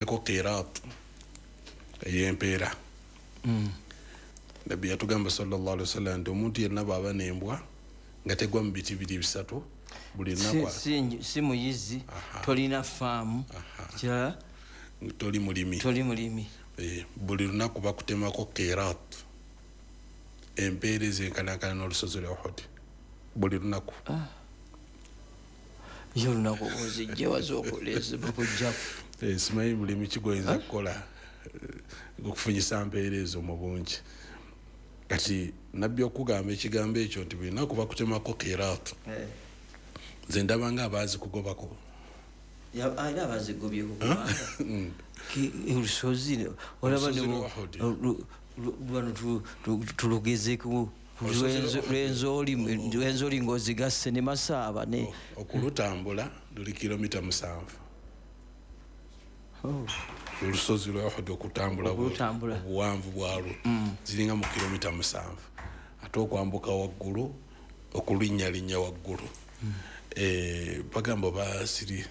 Ko qirat ey'empeera. Nabbi yatugamba sallallahu alaihi wasallam nti omuntu yenna bw'aba n'embwa nga tegwa mu biti biri bisatu buli lunaku, si muyizi, tolina faamu, kirala toli mulimi, toli mulimi. Buli lunaku bakutemako qirat, empeera ezenkanankana n'olusozi lwa Uhud, buli lunaku. Ye olunaku ozijje wazokoleza bakujjaku. Simanyi mulimi kigoyinza kukola okufunyisa mpeera ezo mu bungi. Kati Nabbi okugamba ekigambo ekyo nti buli lunaku bakutemako qirat, nze ndaba nga abaazi kugobako. Era abazigobyeko, kubanga olusozi olaba Olusozi lwa Uhud. Wano tulugezeku. Olusozi lwa Uhud. Lwenzoli ng'ozigasse ne Masaaba ne Okulutambula luli kilomita 7. Oh. Olusozi lwa Uhud okutambula Okulutambula. Obuwanvu bwalwo ziringa mu kilomita 7, ate okwambuka waggulu, okulinnyalinnya waggulu, bagamba oba siri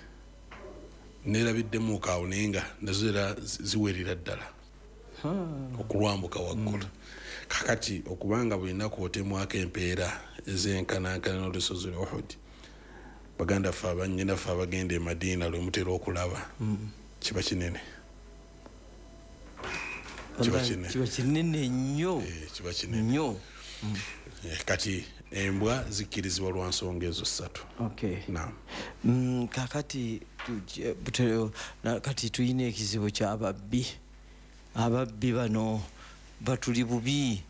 nerabiddemuuko awo, naye nga nazo era ziwerera ddala okulwambuka waggulu. Kakati okubanga buli lunaku otemwako empeera ezenkanankana n'olusozi lwa Uhud, baganda ffe, abannyinaffe abagenda e Madiina lwe mutera okulaba, kiba kinene, kiba kinene. Kiba kinene nnyo. Kiba kinene nnyo. Kati embwa zikkirizibwa lwa nsonga ezo ssatu. Naam. Kakati kati tulina ekizibu kyababbi. Ababbi bano batuli bubi.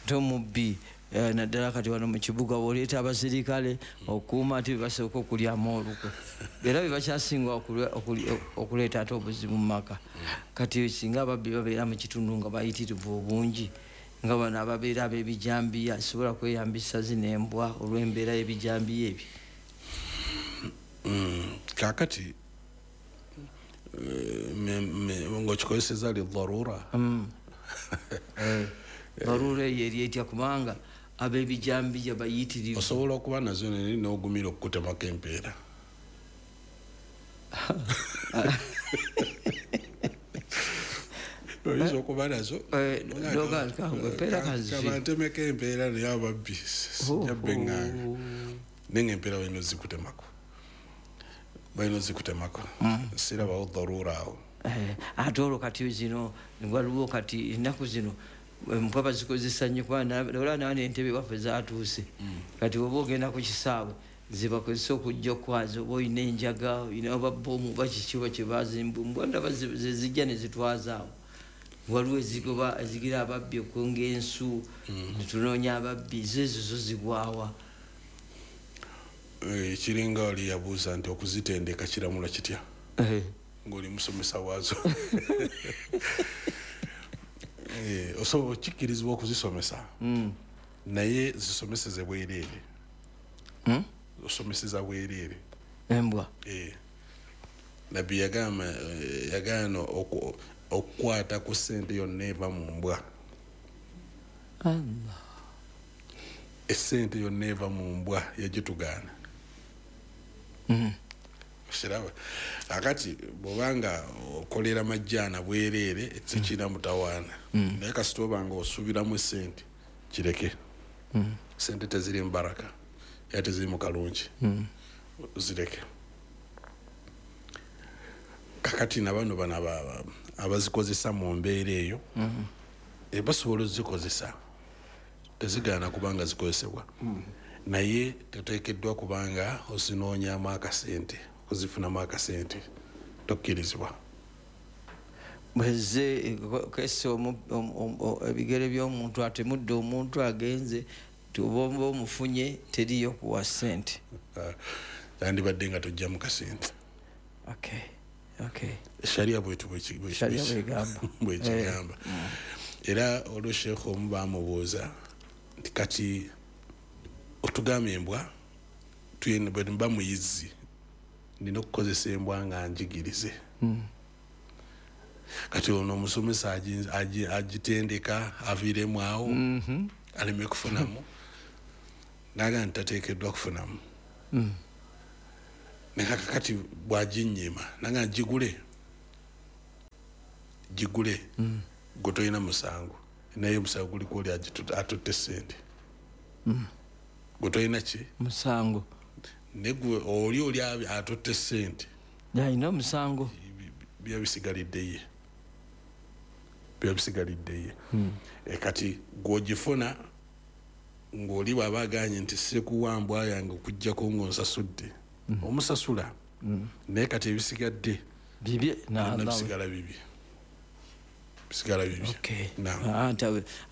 Nte omubbi, naddala kati wano mu kibuga, bwoleeta abasirikale okuuma, ate bebasooka okulyamu olukwe, era bebakyasinga okuleeta ate obuzibu mu maka. Kati singa ababbi babeera mu kitundu nga bayitirivu obungi, nga bano ababeera ab'ebijambiya, sobola kweyambisa zino embwa olw'embeera y'ebijambiya ebyo? Kakati ng'okikozeseza lidharura. Darura eyo eri etya? Kubanga ab'ebijambiya bayitirivu. Osobola okuba nazo naye n'ogumira okukutemako empeera. Oyinza okuba nazo. Empeera kanzifi. Kabantemeko empeera, naye ababbi sijja beŋŋanga, naye nga empeera balina ozikutemako, balina ozikutemako. Sirabawo darura awo. Ate olwo kati zino waliwo kati ennaku zino embwa bazikozesa nnyo, kuba olaba nawa n'entebe waffe zatuuse. Kati oba ogenda ku kisaawe, zebakozesa okujja okwaza, oba olina enjaga, olina oba bomu oba kiki oba kyebazimba, ndaba zezijja ne zitwazaawo. Waliwo ezigoba, ezigira ababbi, okwonga ensu netunoonya ababbi, zo ezo zo zigwawa? Kiringa oli yabuuza nti okuzitendeka kiramulwa kitya ng'oli musomesa waazo. Osobola okikkirizibwa okuzisomesa, naye zisomeseze bwereere. Osomeseza bwereere. Embwa? Nabbi yagamba, yagaana okukwata ku ssente yonna eva mu mbwa. Allah. Essente yonna eva mu mbwa yagitugaana. Kiraba akati bwobanga okolera majjaana bwereere, tekirina mutawaana, naye kasita obanga osuubiramu esente, kireke. Sente teziri mu baraka era teziri mu kalungi, zireke. Kakati nabano bano abazikozesa mu mbeera eyo, basobola ozikozesa, tezigaana kubanga zikozesebwa, naye teteekeddwa kubanga ozinoonyamu akasente, okuzifunamu akasente tokkirizibwa. Bweze kese ebigere by'omuntu atemudde omuntu agenze, oba oba omufunye, teriyo kuwa ssente. Yandibadde nga tojjamu kasente. Okay. Sharia bwetu Sharia bwegamba. Bwekigamba. Era olwo sheekh omu bamubuuza nti kati otugamba embwa, bwe mba muyizi nina okukozesa embwa nga njigirize. Kati ono omusomesa agitendeka aviiremu awo aleme kufunamu, naga nti tateekeddwa kufunamu. Naye kakati bwaginyima naga gigule. Ogigule, gwe tolina musango, naye omusango guliko oli atutte sente. Gwe tolina ki? Musango. Naye gwe oli atutte sente alina omusango. Biba bisigalidde ye. Kati gw'ogifuna ng'oli bw'aba aganye nti sikuwa mbwa yange okuggyako ng'onsasudde, omusasula. Naye kati ebisigadde bibye, bisigala bibye.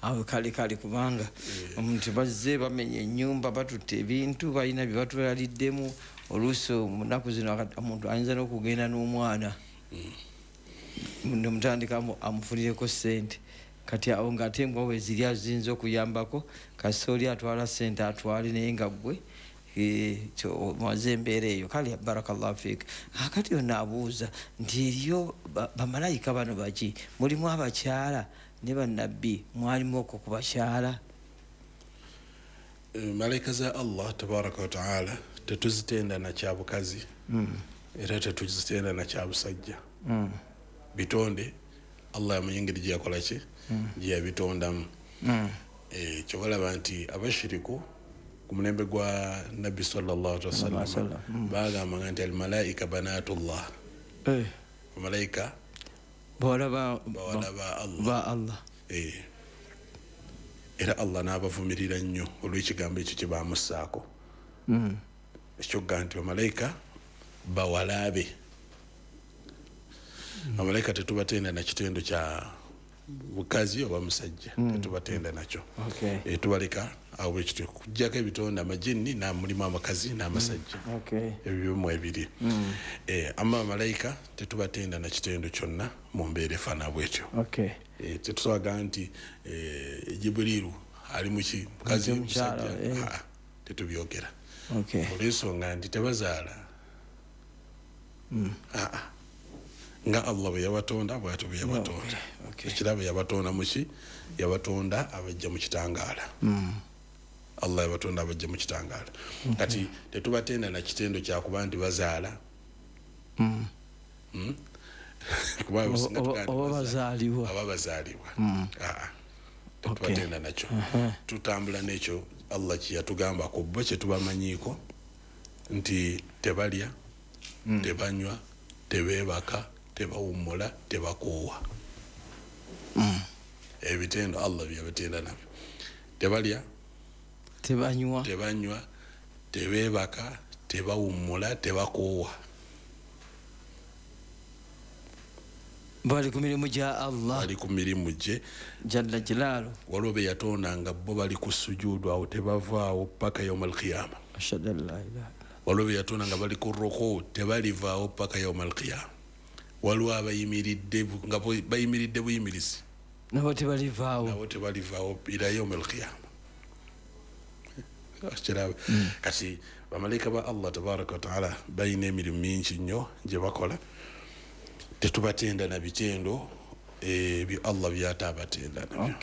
Awo kale kubanga omuntu bazze bamenya ennyumba, batutte ebintu, balina bye batulaliddemu. Oluusi mu nnaku zino omuntu ayinza n'okugenda n'omwana nemutandika amufunireko sente. Kati awo ng'ate embwa we ziri aziyinza okuyambako, kasita oli atwala sente atwale, naye nga ggwe omaze embeera eyo. Kale barakallahu fiik. Kati ono abuuza nti eriyo bamalayika bano baki, mulimu abakyala ne bannabbi, mwalimu okwo ku bakyala? Malayika za Allah tabaraka wa taala tetuzitenda na kyabukazi, era tetuzitenda na kyabusajja. Bitonde Allah yamanyi engeri gye yakola ki, gye yabitondamu. Kyobalaba nti abashiriku ku mulembe gwa Nabbi sallallahu alaihi wasallam bagambanga nti almalaika banatullah, bamalayika bawala ba Allah. Era Allah n'abavumirira nnyo olw'ekigambo ekyo kye bamussaako, ekyogga nti bamalayika bawala be. Bamalayika tetubatenda na kitendo kya mukazi oba musajja, tetubatenda nakyo. Tubaleka awo bwekityo, kujjako ebitonde amajinni mulimu abakazi n'amasajja, ebyo byomwe ebiri. Amma bamalayika tetubatenda na kitendo kyonna mu mbeera efaanana bwetyo. Tetusobola nti Jibriiru ali muki, mukazi, musajja, tetubyogera. Olw'ensonga nti tebazaala. Nga Allah bwe yabatonda bw'atyo bwe yabatonda. Ekirabo yabatonda muki, yabatonda abajja mu kitangaala. Allah yabatonda abajja mu kitangaala. Kati tetubatenda na kitendo kyakuba nti bazaala. Oba bazaalibwa. Oba bazaalibwa. Tetubatenda nakyo. Tutambula n'ekyo Allah kye yatugamba ku bo kye tubamanyiiko nti tebalya, tebanywa, tebeebaka, tebawummula, tebakoowa. Ebitendo Allah byabatenda nabyo. Tebalya, tebanywa, tebeebaka, tebawummula, tebakoowa. Bali ku mirimu gya Allah, bali ku mirimu gye jalla jalaalu. Waliwo be yatonda nga bo bali ku sujuudu awo tebavaawo paka yauma alqiyama. Ashhadu an la ilaha. Waliwo be yatonda nga bali ku ruku tebalivaawo paka yauma alqiyama. Waliwo abayimiridde nga bayimiridde buyimirizi, nabo tebalivaawo, nabo tebalivaawo ila yauma alqiyama. Kati bamalayika ba Allah tabaraka wa taala balina emirimu mingi nnyo gye bakola. Tetubatenda na bitendo ebyo Allah byatabatenda nabyo.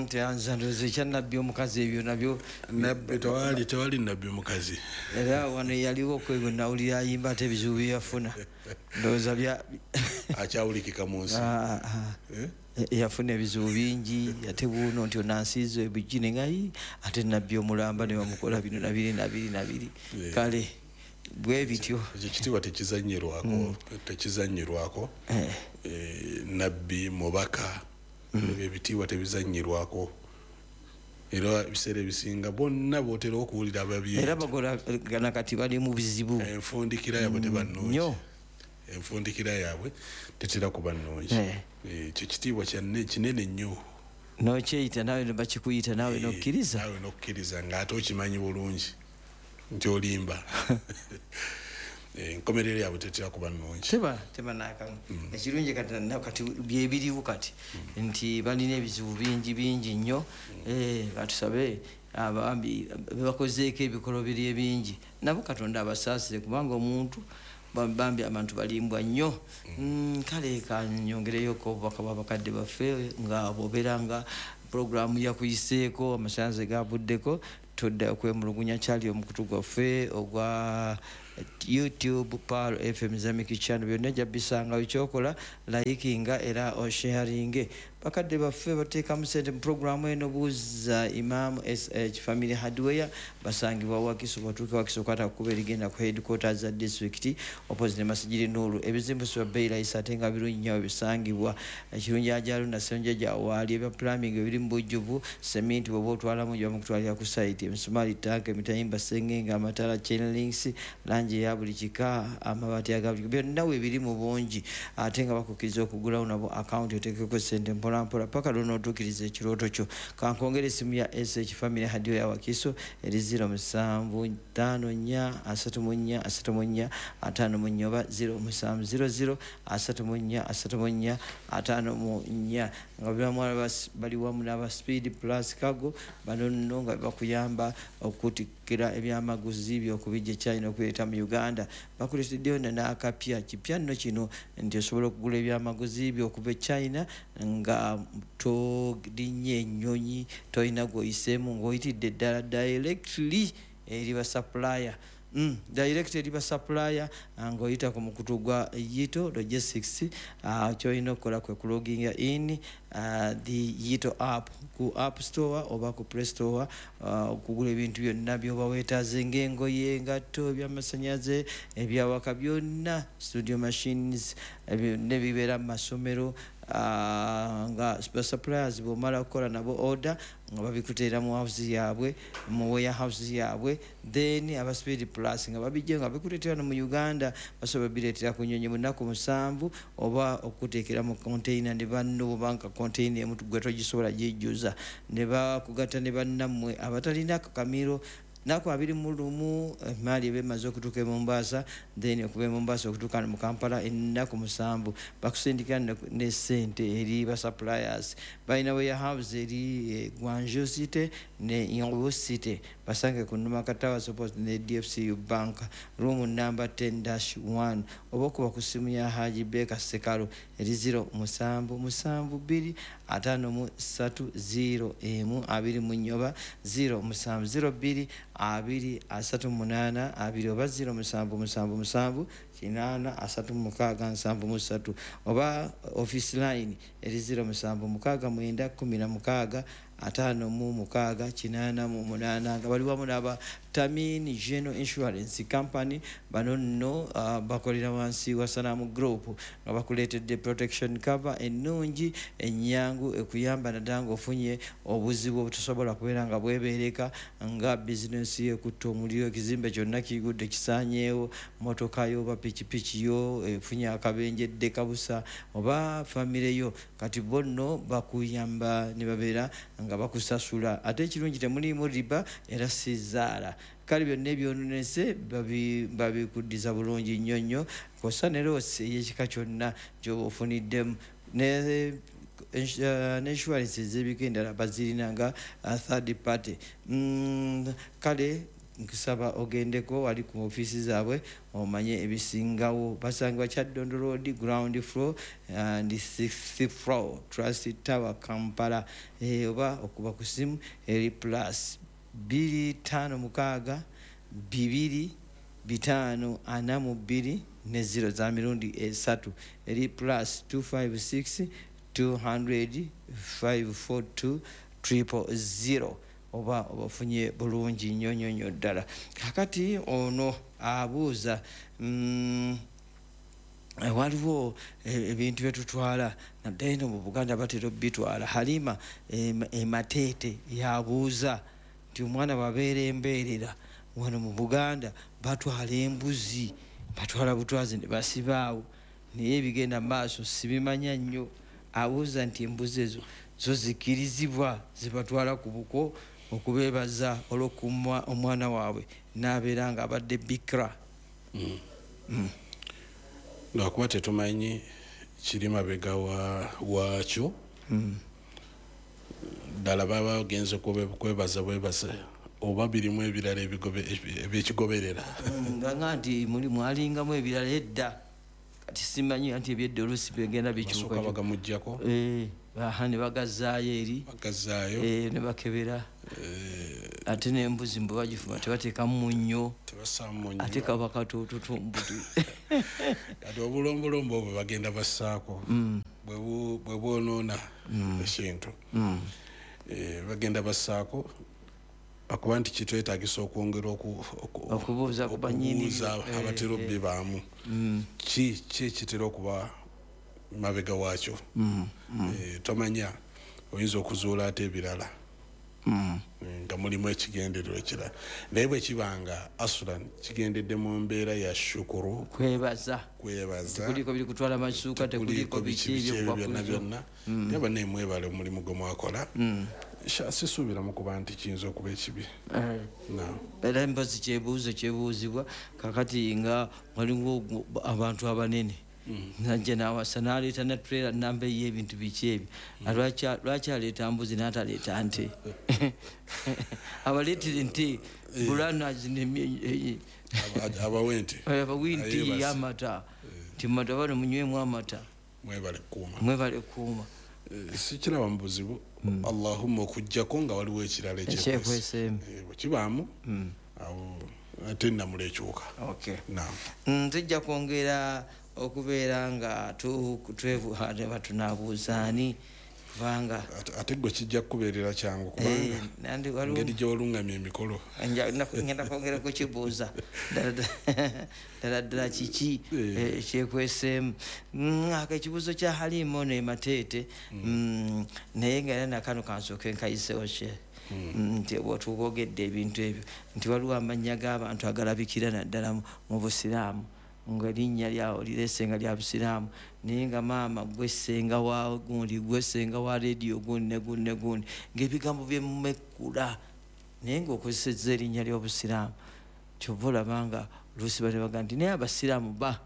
Teyanza ndowooza ekya nabbi omukazi ebyo nabyo. Nabbi tewali nabbi mukazi. Era wano yaliwo kwebwe nawulira ayimba ate ebizibu bye yafuna. Ndowooza bya akyawulikika mu nsi. Yafuna ebizibu bingi, ate buno nti onansiiza ebijji nga ate nabbi omulamba ne bamukola bino nabiri nabiri nabiri. Kale bwe bityo. Ekyo kitiibwa tekizannyirwako, tekizannyirwako. Nabbi, mubaka, ebyo ebitiibwa tebizannyirwako. Era ebiseera ebisinga bonna b'otera okuwulira ababyeyita. Era bagolagana kati bali mu bizibu. Enfundikira yaabwe teba nnungi. Enfundikira yaabwe tetera kuba nnungi. Ekyo kitiibwa kinene nnyo. N'okyeyita naawe ne bakikuyita naawe n'okkiriza. Naawe n'okkiriza ng'ate okimanyi bulungi nti olimba. Enkomerero yaabwe tetera kuba nnungi. Teba n'akamu. Ekirungi kati byebiriwo kati nti balina ebizibu bingi bingi nnyo. Katusabe abambi bebakozeeko ebikolobero ebingi nabo Katonda abasaasire, kubanga omuntu bambi abantu balimbwa nnyo. Kale kanyongereyoko obubaka bw'abakadde baffe nga bw'obeera nga puroguramu yakuyiseeko, amasannyalaze gavuddeko, tudda okwemulugunya kyali omukutu gwaffe ogwa YouTube Pearl FM Islamic Channel, byonna ojja bisangayo. Kyokola likinga era osharinge. Bakadde baffe bateekamu sente mu programu eno. Buuza Imam. SH Family Hardware basangibwa Wakiso. Batuuke Wakiso, kwata kuba erigenda ku headquarters za district, opposite ne Masigiri Nuru. Ebizimbe bya bbeeyi layisi ate nga birungi nnyo. Bisangibwa Ekirungi ajalu nasenjeja waali. Ebya plumbing ebiri mu bujjuvu, seminti bw'oba otwalamu gyamukutwalira ku site, emisumaali, tanka, emitayimba, sengenge, amatala, chain links, langi eya buli kika, amabaati aga buli, byonna weebiri mu bungi. Ate nga bakukkiriza okugulawo nabo akawunti, oteekeko sente mpolampola paka lwonootuukiriza ekirooto kyo. Kankongera esimu ya SH Family Hardware ya Wakiso eri 0754 34 34 54 oba 0700 34 34 54, nga biramwala bali wamu n'aba Speed Plus Cargo. Bano nno nga bakuyamba okutikkira ebyamaguzi byokubijja China okubireeta mu Uganda. Bakuleeteddeyo n'akapya kipya nno kino nti osobola okugula ebyamaguzi byokuva e China nga tolinnye ennyonyi, tolina gwoyiseemu, ng'oyitidde ddala directly eri ba supplier, direct eri ba supplier ng'oyita ku mukutu gwa Yito Logistics. Kyolina okukola kwe kuloginga in the Yito app ku App Store oba ku Play Store, okugula ebintu byonna byoba weetaaze, ng'engoye, engatto, ebyamasanyalaze, ebyawaka byonna, studio machines, byonna ebibeera mu masomero, nga basuppliers bwomala okukola nabo order nga babikuteera mu house yaabwe, mu warehouse yaabwe. Then aba Speed Plus nga babijja nga bikuleetera no mu Uganda. Basobola bireetera ku nyonyi mu nnaku 7 oba okuteekera mu container ne banno, bobanga container emu gwe togisobola gijjuza, ne bakugatta ne bannammwe abatalina kamiro. Naku 21 emaali eba emaze okutuuka e Mombasa. Then okuva e Mombasa okutuuka mu Kampala ennaku 7. Bakusindikira ne sente eri ba suppliers. Balina warehouse eri Guangzhou City ne Yingwu City. Basange ku Numaka Towers, opposite ne DFCU Bank, room number 10-1, oba okuba ku simu ya Haji Beka Sekalo eri 0772 53 01 24 oba 0702 2 38 2 oba 0777 8 36 73, oba office line eri 0769 16 56 88, nga bali wamu n'aba Tamin General Insurance Company. Bano nno bakolera wansi wa Salamu Group, nga bakuleetedde protection cover ennungi, ennyangu, ekuyamba naddala ng'ofunye obuzibu obutosobola kubeera nga bwebeereka, nga bizinensi ekutta omuliro, ekizimbe kyonna kigudde kisaanyeewo, motoka yo oba pikipiki yo efunye akabenje eddeka busa, oba famire yo. Kati bo nno bakuyamba ne babeera nga bakusasula. Ate ekirungi, temuliimu riba era si zaala. Kale byonna ebyononese babikuddiza bulungi nnyo nnyo, kosa ne loss ey'ekika kyonna gyoba ofuniddemu. Ne insurance ez'ebika endala bazirina nga third party. Kale nkusaba ogendeko wali ku ofiisi zaabwe omanye ebisingawo. Basangibwa Kyaddondo Road, ground floor and sixth floor, Trust Tower, Kampala, oba okuba ku simu eri +256 2 542 ne 0 za mirundi esatu, eri +256 200 542 000, oba obafunye bulungi nnyo nnyo nnyo ddala. Kakati ono abuuza, waliwo ebintu byetutwala naddala eno mu Buganda, batera obitwala. Halima Emateete yabuuza nti omwana bwabeera embeerera, wano mu Buganda batwala embuzi, batwala butwazi ne basibaawo, naye ebigenda mu maaso sibimanya nnyo. Abuuza nti embuzi ezo zo zikirizibwa zibatwala ku buko okubeebaza olw'okumwa omwana waabwe n'abeera nga abadde bikra? Lwakuba tetumanyi kiri mabega waakyo. Ddala baba bagenze kwebaza bwebaza oba birimu ebirala ebyekigoberera? Nga nti muli mwalingamu ebirala edda, kati simanyi nti ebyedda oluusi bigenda bikyuka. Basooka bagamugjako. Aha, ne bagazaayo eri. Bagazaayo. Ne bakebera. Ate n'embuzi mbu bagifumba tebateekamu munnyo, ate kaba katototombuti. Kati obulombolombo obwo bagenda bassaako bwe bwonoona ekintu. Bagenda bassaako akuba nti kitwetaagisa okwongera okubuuza ku bannyini abatera obbibaamu ki ekitera okuba mabega waakyo. Tomanya oyinza okuzuula ate ebirala nga mulimu ekigendererwa ekirala, naye bwe kibanga asulan kigendedde mu mbeera ya shukuru, kwebaza, tekuliko biri kutwala masuuka, tekuliko biki ebyo byonna byonna, naye bannaye mwebale omulimu gwe mwakola. Sisuubira mu kuba nti kiyinza okuba ekibi. Era mpozi kyebuuzo kyebuuzibwa kakati nga waliwo abantu abanene najja nawasa n'aleeta ne trailer namba ey'ebintu biki ebyo, lwaki aleeta mbuzi n'ataleeta nte? Abaleetera nte bulana abawe nte, abawe nte y'amata, nti mumata bano munywemu amata, mwebale kuuma. Sikiraba mu buzibu, Allahumma okuggyako nga waliwo ekirala ekyekweseemu bwe kibaamu awo ate nnamula ekyuka. Tujja kwongera okubeera nga twebuuza tunaabuuza ani, kubanga ate gwe kijja kukubeerera kyangu kubanga engeri gye walungamya emikolo. Ngenda kwongera kukibuuza ddala ddala kiki ekyekweseemu. Ako ekibuuzo kya Halima ono e Mateete, naye nga era nakano kansooke nkayiseewo kye nti bw'otukwogedde ebintu ebyo nti waliwo amannya g'abantu agalabikira naddala mu Busiraamu, nga erinnya lyawo lireese nga lya Busiraamu, naye nga maama gwe ssenga wa gundi, gwe ssenga wa leediyo gundi ne gundi ne gundi, ng'ebigambo byemumekkula naye ng'okozesezza erinnya ly'Obusiraamu. Kyova olaba nga oluusi batebaga nti naye Abasiraamu ba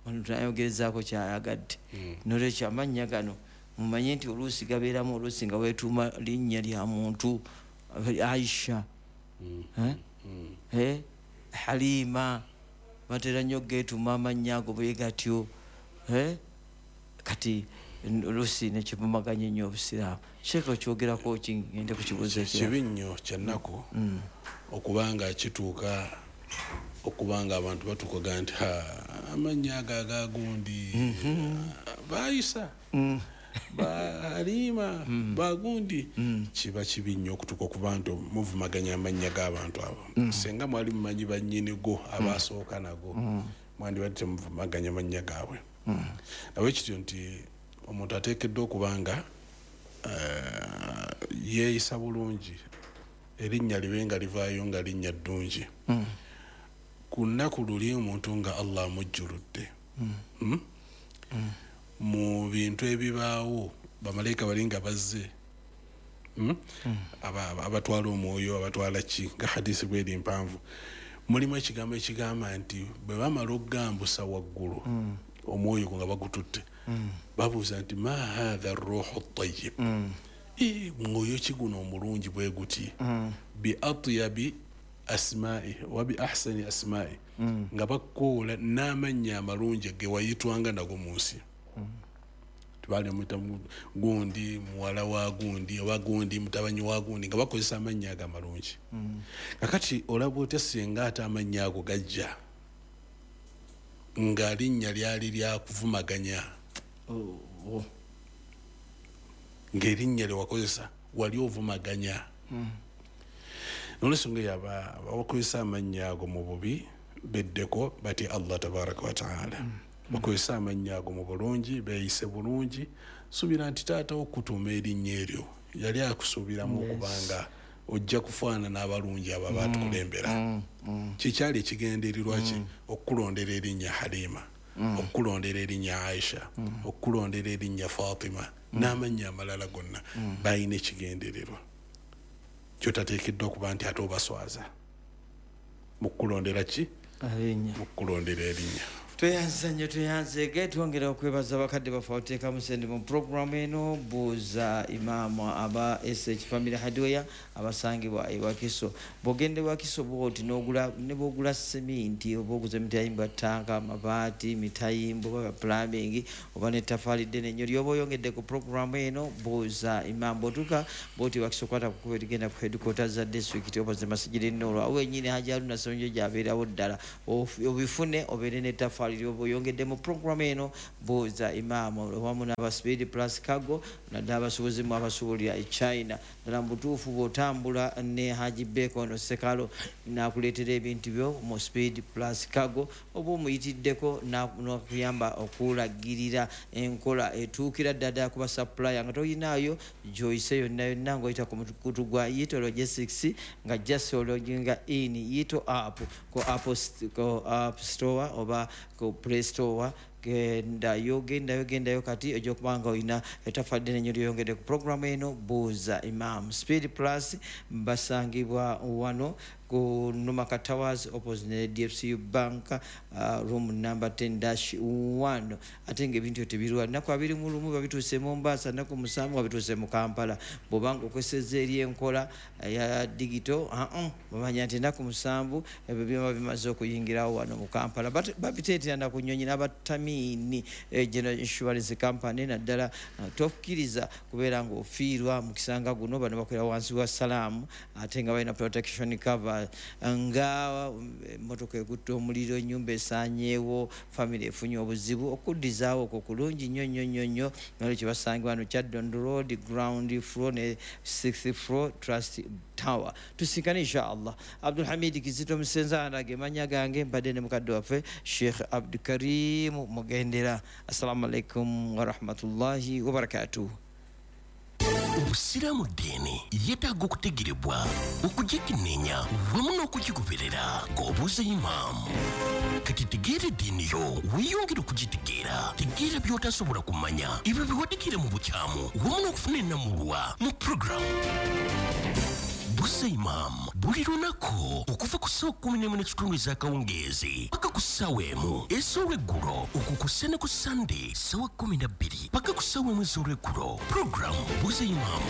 ono tunayogerezaako kyayagadde. Nolwekyo amannya gano mumanye nti oluusi gabeeramu, oluusi nga weetuuma linnya lya muntu, Aisha, Halima, batera nnyo geetuuma amannya ago bwe gatyo. Kati oluusi nekivumaganya ennyo Obusiraamu. Sheekh okyogerako ki? Ngende ku kibuuzo ekirala. Kibi nnyo kyannaku okubanga kituuka okubanga abantu batuukaga nti amannya ago agagundi baayisa Bahalima bagundi. Kiba kibi nnyo okutuuka okuba nti muvumaganya amannya g'abantu abo. Senga mwali mumanyi bannyini go abasooka nago, mwandibadde temuvumaganya amannya gaabwe. Nabwe kityo nti omuntu ateekeddwa okuba nga yeeyisa bulungi, erinnya libe nga livaayo nga linnya ddungi. Ku nnaku luli omuntu nga Allah amujjuludde mu bintu ebibaawo, bamalayika bali nga bazze abatwala omwoyo, abatwala ki, nga hadisi bweri mpanvu, mulimu ekigambo ekigamba nti bwe bamala okugambusa waggulu omwoyo gwo nga bagututte, babuuza nti ma hatha ruhu tayyib, mwoyo ki guno omulungi bwe guti, bi atyabi asma'i wa bi ahsani asma'i, nga bakkoola n'amannya amalungi ge wayitwanga nago mu nsi. Tubali muyita gundi muwala wa gundi oba gundi mutabanyi wa gundi, nga bakozesa amannya ago amalungi. Kakati olaba otya singa ate amannya ago gajja nga linnya lyali lyakuvumaganya, ng'erinnya lye wakozesa wali ovumaganya. Nolwensonga eyo abakozesa amannya ago mu bubi beddeko batya Allah tabaraka wa taala, bakozesa amannya ago mu bulungi, beeyise bulungi. Suubira nti taata wo okutuuma erinnya eryo yali akusuubiramu okubanga ojja kufaanana abalungi abo abatukulembera. Kikyali ekigendererwa ki okukulondera erinnya Halima, okukulondera erinnya Aisha, okukulondera erinnya Fatima n'amannya amalala gonna, balina ekigendererwa kyotateekeddwa kuba nti ate obaswaza mu kukulondera ki, mu kukulondera erinnya. Tweyanza nnyo, tweyanzeege. Twongera okwebaza bakadde baffe abateekamu sente mu puroguramu eno Buuza Imaamu, aba SH Family Hardware abasangibwa e Wakiso. Bw'ogenda e Wakiso bwoti n'ogula, ne bw'ogula seminti oba oguza emitayimbwa, ttanka, amabaati, mitayimbwa oba plumbing oba n'ettafaali ddene nnyo ly'oba oyongedde ku puroguramu eno Buuza Imaamu. Bw'otuuka bwoti Wakiso, kwata ku kkubo erigenda ku headquarters za district opposite Masjid Nur, awo wennyini Haji Haruna Ssennyonjo gy'abeerawo ddala. Obifune obeere n'ettafaali lyoba oyongedde mu puroguramu eno Buuza Imaamu, wamu n'aba Speed Plus Cargo, naddala abasuubuzi mu abasuubulira e China. Ddala mu butuufu bw'otambula ne Haji Beko ono Sekalo n'akuleetera ebintu byo mu Speed Plus Cargo, oba omuyitiddeko n'akuyamba okulagirira enkola etuukira ddala ddala ku basupplier nga toyinaayo gy'oyise yonna yonna, ng'oyita ku mukutu gwa Yito Logistics, nga just ologinga in Yito app ku App Store oba ku Play Store. Gendayo, gendayo, gendayo kati ojja okuba nga olina ettaffaali ddene nnyo ly'oyongedde ku puroguramu eno Buuza Imaamu. Speed Plus basangibwa wano ku Numaka Towers opposite ne DFCU Bank, room number 10-1. Ate ng'ebintu tebirwa, nnaku 21 babituuse Mombasa, nnaku 7 babituuse mu Kampala. Bw'obanga okozesezza eri enkola ya digital, bamanya nti ennaku 7 ebyo byoma bimaze okuyingirawo wano mu Kampala. Babiteetera na ku nnyonyi n'abatamiini General Insurance Company. Naddala tokkiriza kubeera ng'ofiirwa mu kisanga guno. Bano bakolera wansi wa Salaamu, ate nga balina protection cover, nga emmotoka ekutte omuliro, ennyumba esaanyeewo, famire efunye obuzibu, okuddizaawo okwo kulungi nnyo nnyo nnyo nnyo. Nolwekyo basangibwa wano Kyadondo Road, ground floor ne sixth floor, Trust Tower. Tusinkane inshallah. Abdulhamid Kizito Musenza ge mannya gange, mbadde ne mukadde waffe Sheikh Abdukarim Mugendera. Assalamu alaikum warahmatullahi wabarakatuh. Obusiraamu ddiini yeetaaga okutegerebwa, okugikenneenya wamu n'okugigoberera ng'obuuza imaamu. Kati tegeera eddiini yo, weeyongere okugitegeera. Tegeera by'otasobola kumanya, ebyo bye wategeera mu bukyamu, wamu n'okufuna ennamulwa mu puroguramu Buuza Imaamu buli lunaku okuva ku ssaawa 11:15 ez'akawungeezi paka ku ssaawa 1 ez'olweggulo, okwo kussa ne ku Sande ssaawa 12 paka ku ssaawa 1 ez'olweggulo. Puroguramu Buuza Imaamu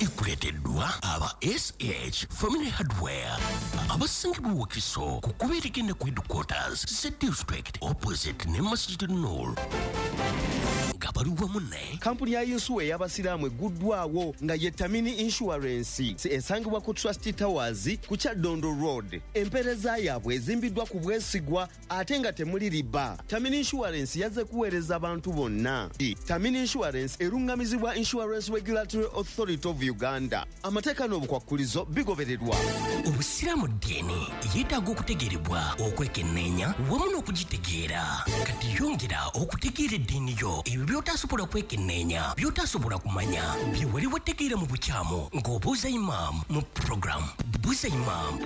ekuleeteddwa aba SH Family Hardware abasangibwa Wakiso ku kkubo erigenda ku headquarters za district opposite ne Masjid Nur, nga bali wamu ne Kampuni ya yinsuwa ey'abasiraamu egguddwawo nga ye Tamini Insurance, esangibwa ku Trust Towers ku Kyaddondo Road. Empeereza yaabwe ezimbiddwa ku bwesigwa ate nga temuli riba. Tamini Insurance yazze kuweereza abantu bonna. Tamini Insurance eruŋŋamizibwa Insurance Regulatory Authority of Uganda. Amateeka n'obukwakkulizo bigobererwa. Obusiraamu ddiini yeetaaga okutegeerebwa, okwekenneenya wamu n'okugitegeera. Kati yongera okutegeera eddiini yo, ebyo by'otasobola kwekenneenya, by'otasobola kumanya, bye wali wategeera mu bukyamu, ng'obuuza imaamu mu puroguramu Buuza Imaamu.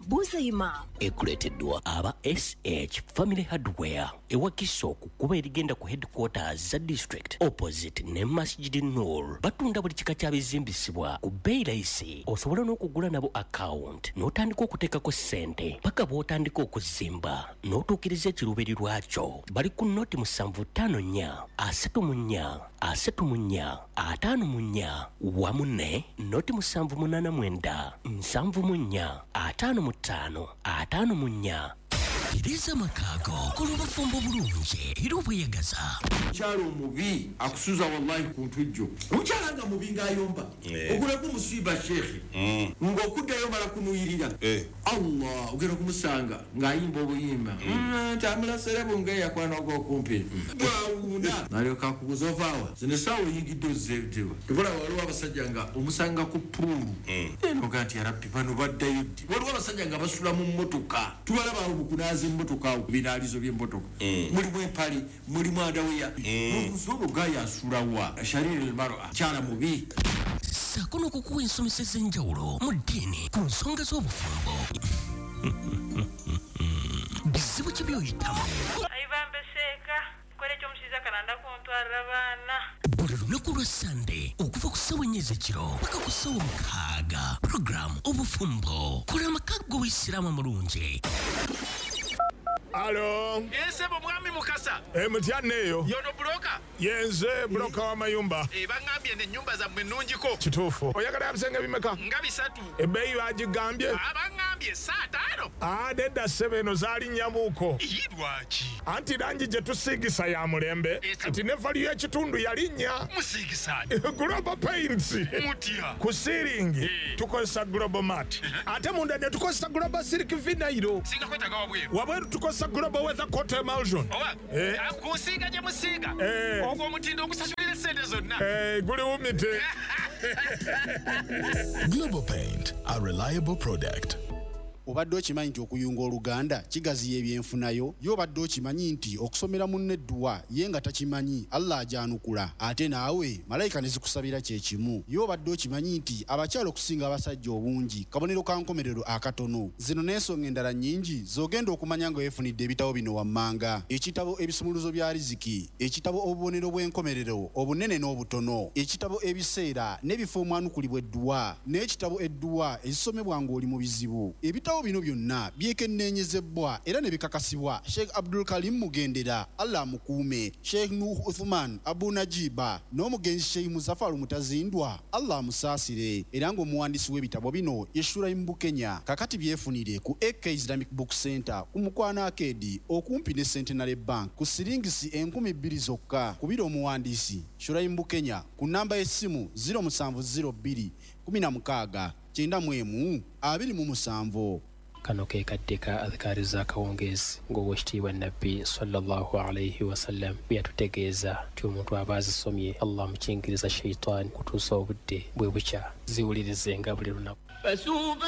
Buuza Imaamu ekuleeteddwa aba SH Family Hardware ewakiso ku kkubo erigenda ku headquarters za district opposite ne Masjid Nur. Batunda buli kika kya bizimbisibwa ku bbeeyi layisi. Osobola n'okugula nabo account n'otandika okuteekako ssente paka bw'otandika okuzimba n'otuukiriza ekiruubirirwa kyo. Bali ku 075 34 34 54 wamu ne 0789 74 55 54. Tereza amakaago, kola obufumbo bulungi era obweyagaza. Omukyala omubi akusuza wallahi ku ntujjo. Omukyala nga mubi ng'ayomba, ogulako musiiba sheekhe, ng'okuddayo mala kunuyirira. Allah, ogenda kumusanga ng'ayimba obuyimba tambula serebu ng'eyakwana ogw'okumpi bwawuuna, n'alyoka akuguza ovaawa zino essaawa oyingidde ozzeetewa. Tebula waliwo abasajja nga omusanga ku puulu enoga nti yarabbi bano baddayo ddi. Waliwo abasajja nga basula mu mmotoka, tubalaba awo mukunaaza emmotoka, awo ku binaalizo by'emmotoka, mulimu empale, mulimu andaweya. Nobuuza gaaya asulawa. Shariri almar'a, kyala mubi. Ssaako n'okukuwa ensomesa ez'enjawulo mu ddiini ku nsonga z'obufumbo. Bizibu ki by'oyitamu? Ayibambe seeka kola ekyomushiza kalanda kuntwarira abaana. Buli lunaku lwa Sande okuva ku ssaawa 4 ez'ekiro paka ku ssaawa 6, puroguramu Obufumbo, kola amaka g'Obuyisiraamu amulungi. Alo. Esebo mwami Mukasa. Mutya neyo. Yono broker. Yenze broker wa mayumba. Bangambye ne nyumba zammwe nnungiko. Kituufu. Oyagala ebisenge bimeka? Nga bisatu. Ebbeeyi bagigambye? Abangambye 5. Nedda ssebo, eno zaalinnya-muko. Lwaki? Anti langi gye tusiigisa ya mulembe. Kati ne value y'ekitundu yalinnya. Musiigisa Global Paints. Mutya? Ku siiringi tukozesa Global Mat. Ate munda ne tukozesa Global Silk Vinyl. Singa kwetaaga wabweru. Wabweru tukozesa Global Weather Coat Emulsion. Oba ku nsiiga gye musiiga. Ogwo omutindo ogusasulira essente zonna. Guli wumite. Global Paint, a reliable product. Obadde okimanyi nti okuyunga oluganda kigaziya ebyenfunayo? Ye obadde okimanyi nti okusomera munne edduwa ye nga takimanyi Allah ajanukula, ate naawe malayika ne zikusabira kyekimu? Ye obadde okimanyi nti abakyala okusinga abasajja obungi kabonero ka nkomerero akatono? Zino n'ensonga endala nnyingi z'ogenda okumanya nga weefunidde ebitabo bino wammanga: ekitabo Ebisumuluzo bya Riziki, ekitabo Obubonero bw'Enkomerero Obunene n'Obutono, ekitabo Ebiseera n'Ebifo Omwanukulibwa Edduwa, n'ekitabo Edduwa Ezisomebwa Ng'oli mu Bizibu. Ebitabo bino byonna byekenneenyezebwa era ne bikakasibwa Sheikh Abdul Karim Mugendera, Allah amukuume, Sheikh Nuh Uthman Abu Najiba n'omugenzi Sheikh Muzafaru Mutazindwa, Allah amusaasire, era ng'omuwandiisi w'ebitabo bino ye Shuraim Bukenya. Kakati byefunire ku AK Islamic Book Center ku Mukwano Arcade okumpi ne Centenary Bank ku siringisi 2000 zokka. Kubira omuwandiisi Shuraim Bukenya ku namba y'essimu 0702 16 91 27. Kano ke kadde ka adhikaari z'akawungeezi ng'owekitiibwa Nabbi sallallahu alaihi wasallam bwe yatutegeeza nti omuntu aba azisomye Allah amukingiriza shaitaani kutuusa obudde bwe bukya. Ziwulirizenga buli lunaku.